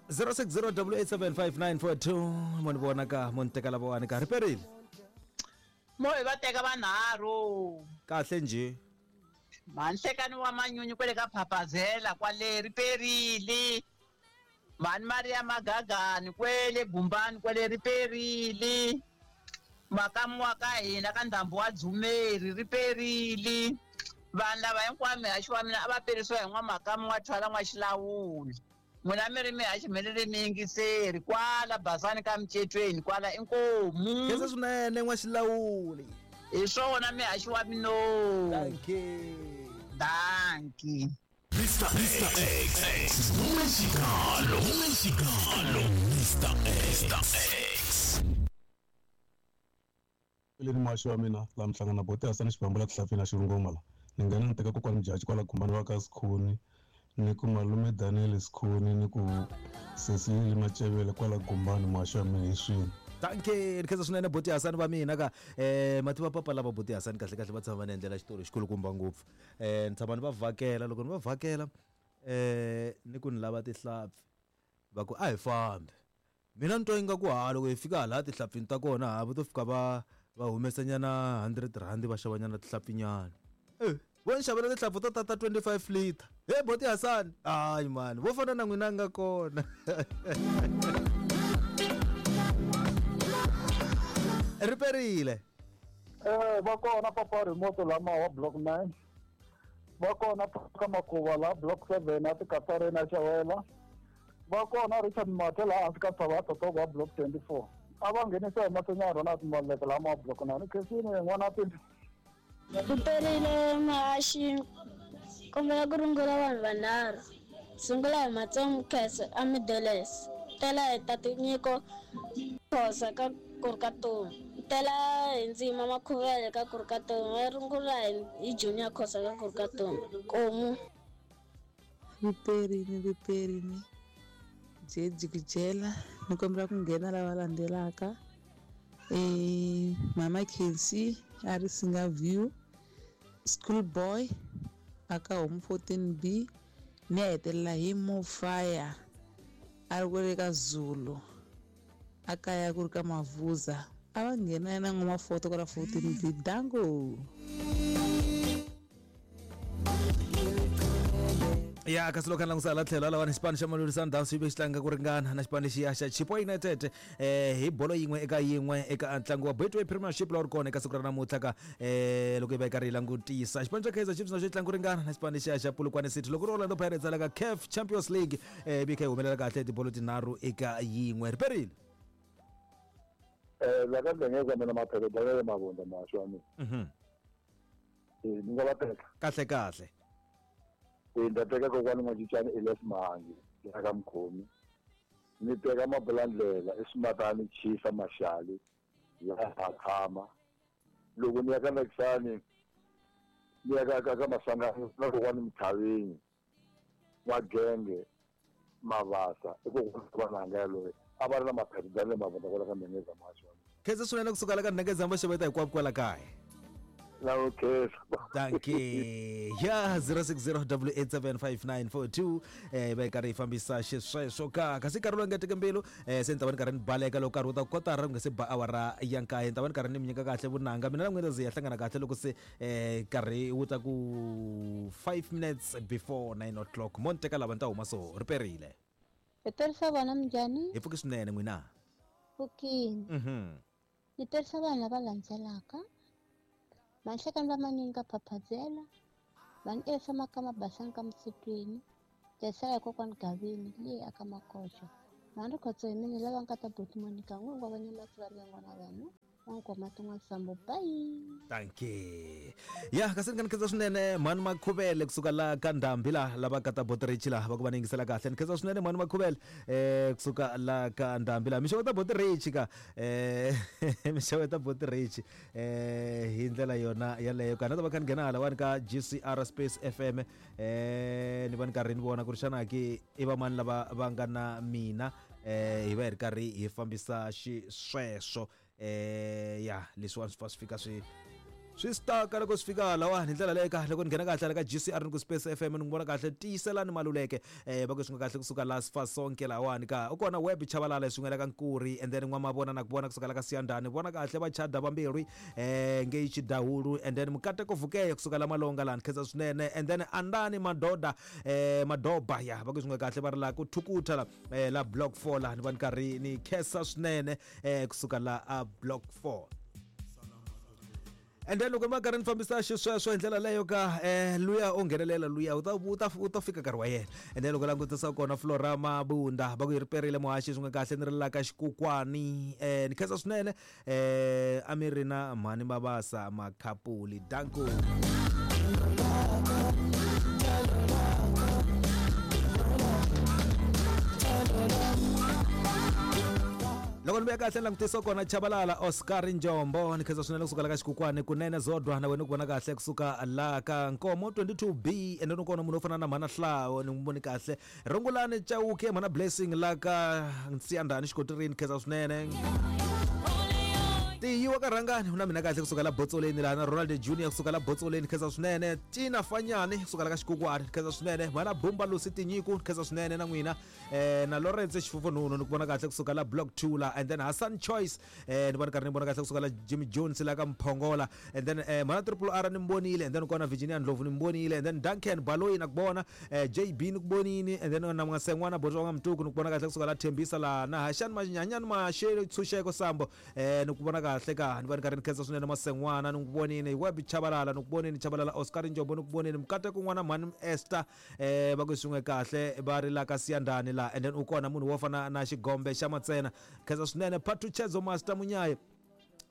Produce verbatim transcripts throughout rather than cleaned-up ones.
zero six zero double eight seven five nine four two mo ni vona ka mo ni teka lavawani ka ri perile mo hi va teka vanharhu kahle njhe manhlekani wa manyunyu kwele ka Phaphazela kwale ri perile mani Maria Magagani kwele Gumbani kwele ri perile makamu wa ka hina ka ndhambu wa Dzumeri ri perile vanhu lava hinkwavo mihaxi wa mina a va perisiwa hi n'wamakamu wa thwala n'waxilawuli n'wina mi ri mihaxi mi ri ri miyingiseri kwala Basani ka Micetweni kwala inkomu khensa swinene n'waxilawuli hi swona mihaxi wa mino dankie dankie Mister X, X, Mexicano, Mexicano, Mister X, X. Leli muhaxi wa mina laha mi hlangana boti Hasani Xibambu la Tihlapfini a Xirungoma la ni nghena ni teka kokwani Mujaji kwala Gumbani wa ka Sikhuni ni ku malume Daniel Sikhuni ni ku sesi Lili Macevele kwala Gumbani muhaxi wa mina hi swini dankie ni khensa swinene boti Hasani va mina ka eh mativa papa lava boti Hasani kahle kahle va tshama va ni endlela xitori xikulukumba ngopfu eh ni tshama ni va vhakela loko ni va vhakela eh ni ku ni lava tihlapfi va ku a hi fambi mina ni twa ingaku ha loko hi fika hala tihlapfini ta kona ha va to fika va va humesanyana hundred rand va xavanyana tihlapfinyana eh vo ni xavela tihlapfu to tata twenty-five liter he boti Hasani hayi mani vo fana na n'wina nga kona ri perile eh va kona papa remote lama wa block nine va kona ka Makuva la block seven a tikatareni a Xawela va kona Richard Mathe laha hansi ka Tshava Totogo wa block twenty-four a va nghenisa hi mahlweni Ronald Maleke lama wa block nine khensini n'wana pimbi ri perile muhaxi kombela ku rungula vanhu vanharhu sungula hi Matsongo Khese a Middles tela hi tati Nyiko Khosa ka Kurukatomi tela hi Ndzima Makhuvele ka Kurukatomi va rungula hi Junior Khosa ka Kurukatomi komu ri perini ri perini jejikijela ni kombela ku nghena lava landzelaka eh mama Kensi a ri Singa View school boy aka home fourteen B ni hetelela hi Mofaya a ri kwele ka Zulu a kaya ku ri ka Mavuza a va nghena na n'wa foto kwala fourteen B dango ya kasi loko langusa la tlhelo lawani xipano xa Mamelodi Sundowns xi ve xi tlanga ku ringana na xipano lexiya xa Chippa United eh hi bolo yin'we eka yin'we eka ntlangu wa Betway Premiership lowu ri kona eka siku ra namuntlha ka eh loko hi va hi karhi hi langutisa xipano xa Kaizer Chiefs na xo tlanga ku ringana na xipano lexiya xa Polokwane City loko ri Orlando Pirates la ka C A F Champions League eh bi kha yi humelela kahle tibolo tinharhu eka yin'we ri perile eh la ka ndengeza mina maphelo dale mavonda muhaxi wa mina mhm eh ni nga va teka kahle kahle ni ta teka kokwani N'wacincani Elias Mahangi la ka Mkhomi ni teka Mabulandlela eSimatani Chisa Maxali la Hakhama loko ni ya ka Nakisani ni ya ka ka ka Masangani na kokwani Mthavini wa Genge Mavasa i kokwani vananga yaloye a va ri na maphepha dale mavonda kwala ka Mengeza muhaxi wa mina khensa swinene kusuka la ka Ndengeza va xaveta hinkwako kwala kaya la okay dankie ya zero six zero double eight seven five nine four two eh va karhi yi fambisa xisweswo ka kasi nkarhi lowu nga teka mbilu eh se ni ta va ni karhi ni baleka loko nkarhi wu ta kotara ku nga se ba awara ya nkaye ni ta va ni karhi ni mi nyika kahle vunanga mina na n'wina ze ya hlangana kahle loko se eh nkarhi wu ta ku five minutes before nine o'clock mo ni teka lava ni ta huma so ri perile hi terisa vona minjhani hi pfuki swinene n'wina pfukini mhm ni terisa vanhu lava landzelaka Manhlekani va manyunyu ka Phaphazela vanhu Elsa Makama Basani ka Msitweni Jesaya kokwani Gavini leyi aka Makoxo mhani Rikhotso hi mina lava nga ta buti Monica n'wingi wa vanyamatsi va rivengo na vanhu n'wankoma tin'wana sambo bye dankie ya kasi ni nga ni khensa swinene mhani Makhuvele kusuka la ka Ndhambi la lava ka ta Botrichi la va ku va ni yingisela kahle ni khensa swinene mhani Makhuvele eh kusuka la ka Ndhambi la mixavo ta Botrichi ka eh mixavo ta Botrichi eh hi ndlela yona yaleyo kana ta va kha ni nghena halawani ka G C R Space F M eh ni va ni karhi ni vona ku ri xana ki i va mani lava va nga na mina eh hi va hi ri karhi hi fambisa xisweswo eh ya leswiwani swi fa swi fika swi Swi staka loko swi fika lawani hi ndlela leyi kahle loko ni nghena kahle la ka G C R ni ku Space F M ni n'wi vona kahle tiyiselani Maluleke eh va ku swi nga kahle kusuka la Sifasonke lawani ka u kona Web Chabalala swin'we la ka Nkuri and then N'wamavona na ku vona kusuka la ka Siyandhani vona kahle va chada vambirhi eh ngei Chidahulu and then Mukateko Vukeya kusuka la Malonga lani khensa swinene and then Andani Madoda eh Madoba ya va ku swi nga kahle va ri la ku Thukutha la eh la Block four la ni va ni karhi ni khensa swinene eh kusuka la a Block four. And then loko ma karhi ni fambisa xisweswo hi ndlela leyo ka eh luya o nghenelela luya u ta u ta u ta fika nkarhi wa yena. And then loko langutisa kona Flora Mabunda va ku yi riperile muhaxi swi nga kahle ni ri la ka Xikukwani eh ni khensa swinene eh a mi ri na mhani Mabasa Makhapuli danko. Loko ni vuya kahle ni langutisa kona Chabalala Oscar Njombo ni khensa swinene kusuka la ka Xikukwani kunene Zodwa na wena ku vona kahle kusuka la ka Nkomo twenty-two B and then kona munhu wo fana na Mhana Hlawo ni n'wi voni kahle Rungulani Chauke Mhana Blessing la ka Nsiyandhani Xikotirini khensa swinene. Tiyiwa ka Rhangani na mina kahle kusuka la Botsoleni la na Ronald Junior kusuka la Botsoleni khensa swinene Tina Fanyani kusuka la ka Xikukwani khensa swinene Mhana Bumba Lucy Tinyiku khensa swinene na n'wina eh na Lawrence Xifufununu ni ku vona kahle kusuka la Block two la and then Hassan Choice eh ni vona karhi ni vona kahle kusuka la Jimmy Jones la ka Mphongola and then eh Mhana Triple R ni mbonile and then kona Virginia Ndlovu ni mbonile and then Duncan Baloyi na ku vona eh J B ni ku vonini and then na N'wasen'wana Botswa nga Mtuku ni ku vona kahle kusuka la Thembisa la na Hashani Manyanyani Mashele Tshunxeko Sambo eh ni ku vona kahle ka ni va ni karhi ni khensa swinene Masen'wana ni ku vonini Web Chabalala ni ku vonini Chabalala Oscar Njombo ni ku vonini Mukateko n'wana Mhani Esther eh va ku swin'we kahle va ri la ka Siyandhani la and then u kona munhu wo fana na Xigombe xa Matsena khensa swinene Phathuchezo Master Munyaye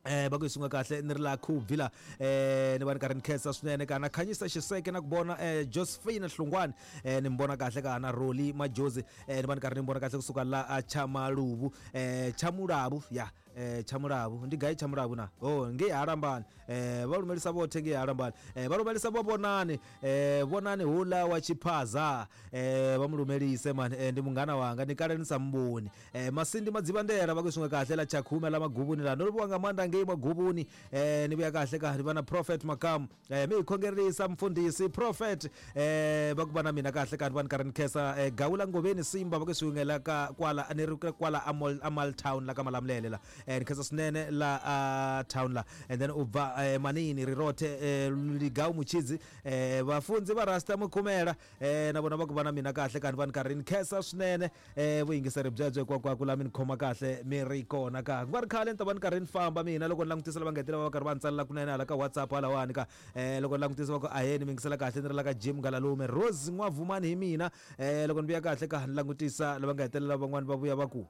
eh va ku swin'we kahle ni ri la Khubvi la eh ni va ni karhi ni khensa swinene ka na Khanyisa Xiseke na ku vona eh Josephine Hlungwani eh ni mbona kahle ka na Roli Majozi eh ni va ni karhi ni mbona kahle kusuka la Chamaluvu eh Chamulavu ya eh Chamulavu ndi gai Chamulavu na oh ngei Halambani eh va lumelisa vothe ngei Halambani eh va lumelisa vho Vhonani eh Vhonani hula wa Chiphaza eh va mu lumelise mani eh, ndi mungana wanga ni kale ni sa mboni eh Masindi Madzivandela va ku swin'we kahle la Chakhume la Magubuni la ndo livhuwa nga maanḓa ngei Magubuni eh ni vhuya kahle ka ni va na Prophet Makamu eh mi hi khongerisa mfundhisi Prophet eh va ku va na mina kahle ka ni va ni karhi ni khensa eh, Gawula Ngoveni Simba va ku swin'we la ka kwala ni ri kwala Amal Amal Town la ka Malamulele la eh ni khensa swinene la uh, town la and then u bva eh, Manini Rirothe eh, Ligau Muchidzi eh vafunzi va Rasta Mukhumela eh na vona va ku va na mina kahle ka ni va ni karhi ni khensa swinene eh vuyingiseri byebyo hinkwako la mi ni khoma kahle mi ri kona ka ku va ri khale ni ta va ni karhi ni famba mina loko ni langutisa lava nga hetelela va karhi va ni tsalela kunene hala ka WhatsApp halawani ka eh loko ni langutisa va ku aheni mi yingisela kahle ni ri la ka Jim Ngalalume Rose N'wavumani hi mina eh loko ni vuya kahle ka ni langutisa lava nga hetelela van'wani va vuya va ku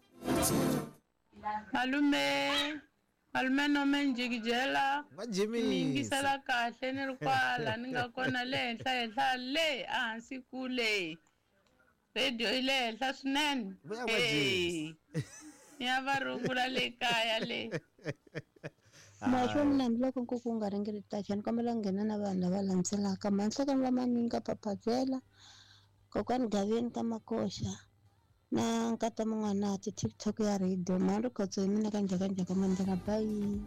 Malume, malume nome njikijela N'wa-Jimmy. mi yingisela kahle ni ri kwala ni nga kona le henhla henhla le ehansi kule radio yi le henhla swinene Vuya N'wa-Jimmy. Hey, ni ya va rungula le kaya le. Muhaxi wa mina hambiloko nkuku wu nga ringetaki ni kombela ku nghena na vanhu lava landzelaka Manhlekani va Manyunyu ka Papazela kokwani Gaveni ka Makoxa na nkata Mun'wanati TikTok ya radio mhani Rikhotso hi mina ka Njhakanjhaka Mandela bye.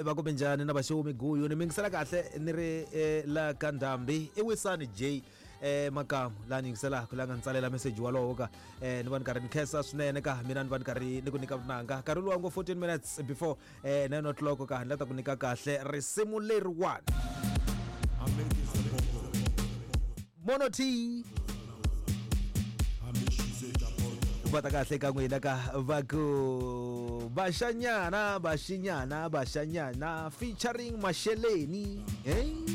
Va ku minjhani na vaxomi guyu ni mi yingisela kahle ni ri eh, la ka Ndhambi i Wisani J eh Makamu la ni yingiselaka la nga ni tsalela meseji walowo ka eh ni va ni karhi ni khensa swinene ka mina ni va ni karhi ni ku nyika vunanga nkarhi luwa ngo fourteen minutes before eh nine o'clock ka ni la ta ku nyika kahle risimu leriwani Mono T va ta kahle ka n'wina ka va ku Baxanyana Baxinyana Baxanyana featuring Masheleni eh